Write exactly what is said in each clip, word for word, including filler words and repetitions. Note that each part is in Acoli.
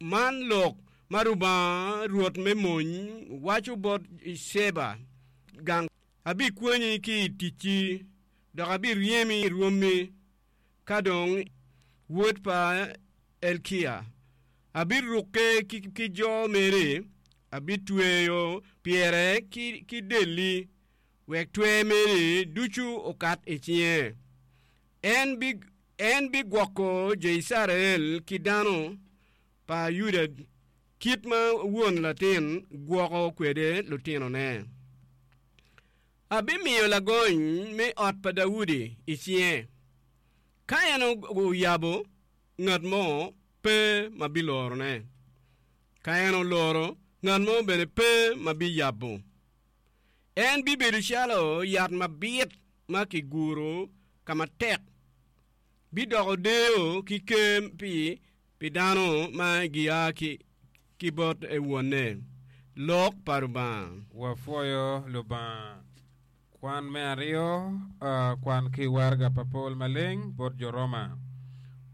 Man lok ma Rubanga Rwot me mony waco bot Ceba gang, Abikwanyi ki i ticci, dok abiryemi i rwommi, ka dong wod pa Elkia. Abirukke ki jo meri, abitweyo pyere ki delli, wek twer meri ducu okat i cinge. En bigwoko jo Icrael ki dano pa Yuda kit ma won latin gwoko kwede lutinone. Abimiyo lagony me ot pa Daudi i cinge. Ka en oyabo, ngat mo pe ma bilorone. Ka en oloro, ngat mo bene pe ma biyabo. En bibedo calo yat mabit ma kiguro ka matek, bidoko deyo ki ker pi dano ma gia ki bot Wonne. Lok pa Rubanga. Wapwoyo Lubanga. Kwan me aryo, kwan ki waraga pa Paul Maleng bot jo Roma.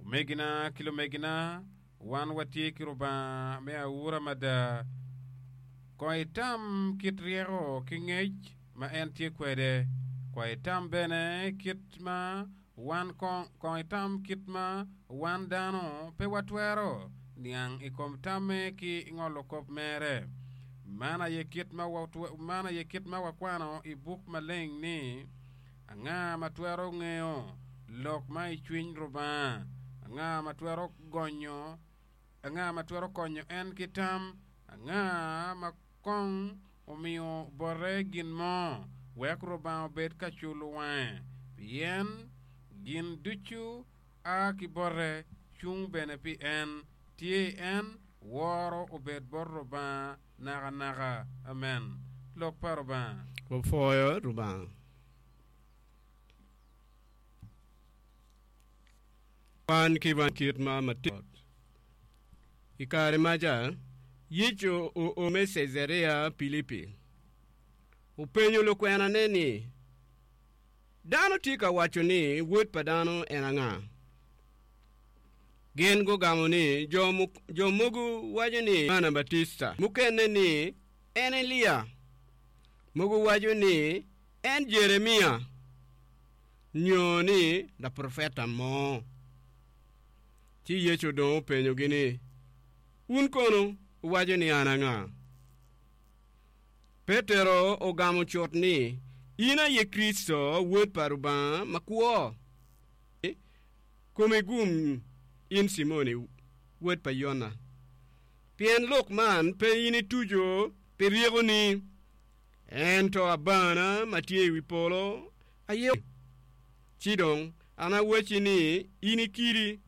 Omegina ki lumegina, wan watye ki Rubanga me aura mada. Kong itam kit ryeko ki ngec ma en tye kwede. Kong itam bene kit ma wan kong itam kit ma wan dano pe watwero niang i kom tamme ki ngolo kop mere. Man aye kit ma man aye kit ma wakwano i buk maleng ni, Anga ma twero ngeyo lok ma i cwiny Rubanga? Anga ma twero gonyo anga ma twero konyo en ki tam? Anga ma kong omiyo bote gin mo, wek Rubanga obed ka culo wange? Pien gin ducu a ki bote, cung bene pi en, tye i en, woro obed bot Rubanga nakanaka. Amen. Lok pa Rubanga. Wapwoyo Rubanga. Kwan ki kit ma matir. I kare maca, Yecu oo me Cecaria Pilipi. Openyo lukwenane ni, Dano tye ka waco ni Wod pa dano en anga? Gin gugamo ni, Jo mogo waco ni Yoana Batista, mukene ni en Elia, mogo waco ni en Jeremia, nyo ni laprofeta mo. Ci Yecu dong openyogi ni, Wun kono wuwaco ni an anga? Petero ogamo cut ni, In aye Kricito, Wod pa Rubanga makwo. Komi gum, in Cimon, wod pa Yona, pien lok man pe in ituco pi ryekoni, ento Abana ma tye i wi polo aye. Ci dong an awacci ni, in i kidi,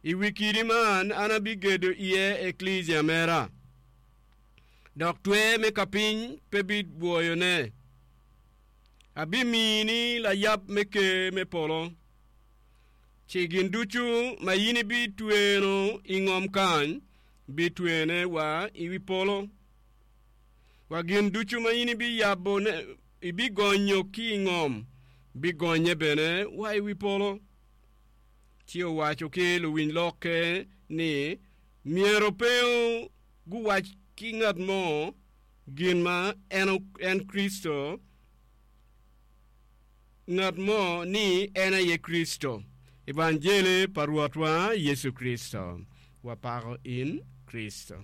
i wi kidi man an abigedo iye eklesia mera, dok twer me kapiny pe bibwoyone. Abimini layab me ker me polo, ci gin ducu ma in ibitweno i ngom kany bitwene wa i wi polo, wa gin ducu ma in ibiyabone ibigonyo ki i ngom bigonye bene wa i wi polo. Ci owaco ki luwiny lokke ni myero pe guwac ki ngat mo gin ma en Kricito, ngat mo ni en aye Kricito. Evanjeli pa Rwotwa Yecu Kricito. Wapako in Kricito.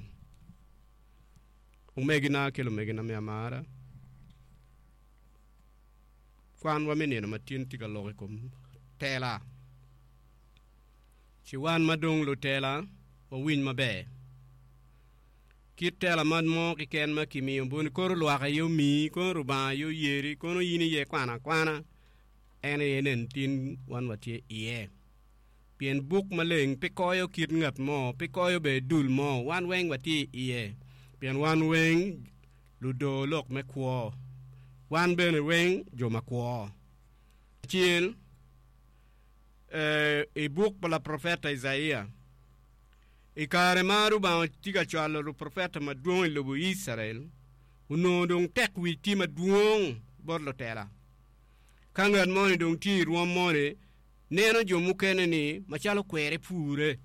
Omegina ki lumegina me amara, kwanwa me nino ma tin tye ka lok i kom tela. Ci wan ma dong lutela wawiny maber. Kit tela man mo keken ma kimiyo boni kono lwak aye omiyi, kono Rubanga aye oyeri, kono in iye kwano akwana, en aye nen tin wan watye iye. Pien buk maleng pe koyo kit ngat mo, pe koyo bene dul mo, wan weng watye iye, pien wan weng ludor lok me kwo, wan bene weng jo makwo. Acel, i buk pa laprofeta Icaia, I kare ma Rubanga tye ka cwalo luprofeta madwong i lobo Icrael, onongo dong tek wic tye madwong bot lutela. Ka ngat moni dong tye i rwom moni, neno jo mukene-ni macalo kwere pure.